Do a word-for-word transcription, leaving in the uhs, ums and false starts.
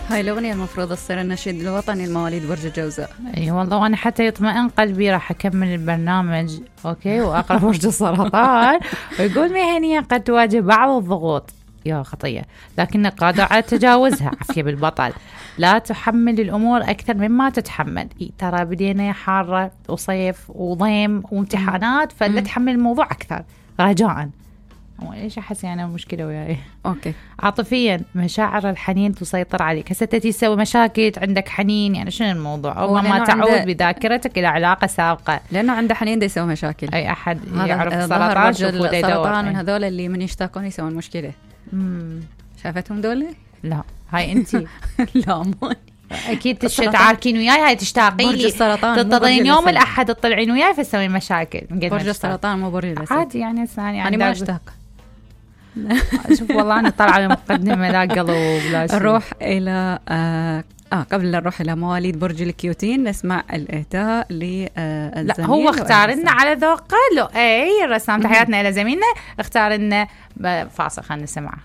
هاي الأغنية المفروض تصير النشيد الوطني المواليد برج الجوزاء. اي والله، وانا حتى يطمئن قلبي راح اكمل البرنامج اوكي واقرا برج السرطان ويقول مهنيا قد تواجه بعض الضغوط يا خطية لكنك قادر على تجاوزها. عافية بالبطل، لا تحمل الأمور أكثر مما تتحمل. ترى بدينا حارة وصيف وضيم وامتحانات، فلا تحمل الموضوع أكثر رجاءً. ايش احس يعني مشكله وياي؟ اوكي. عاطفيا مشاعر الحنين تسيطر عليك. هسه تتي تسوي مشاكل عندك حنين، يعني شنو الموضوع؟ او ما تعود بذاكرتك الى علاقه سابقه، لانه عنده حنين دا يسوي مشاكل. اي احد يعرف السرطان شوفوا دا السرطان من هذول اللي من يشتاقون يسوون مشكله. امم شافتهم دول؟ لا هاي انتي لا مو اكيد تشتعاركين وياي، هاي تشتاقين لي تنتظرين يوم الاحد تطلعين وياي فسوي مشاكل. برج السرطان مو برج الاسد عادي يعني. ثاني انا ما اشتاق. شوف والله انا طالعه بمقدمه لا قلب ولا شيء. نروح الى آه, اه قبل لا نروح الى مواليد برج الكيوتين نسمع الاهداء للزميل. لا هو اختار لنا على ذوقه. اي الرسام تحياتنا الى زميلنا اختار لنا فاصل، خلينا نسمعه.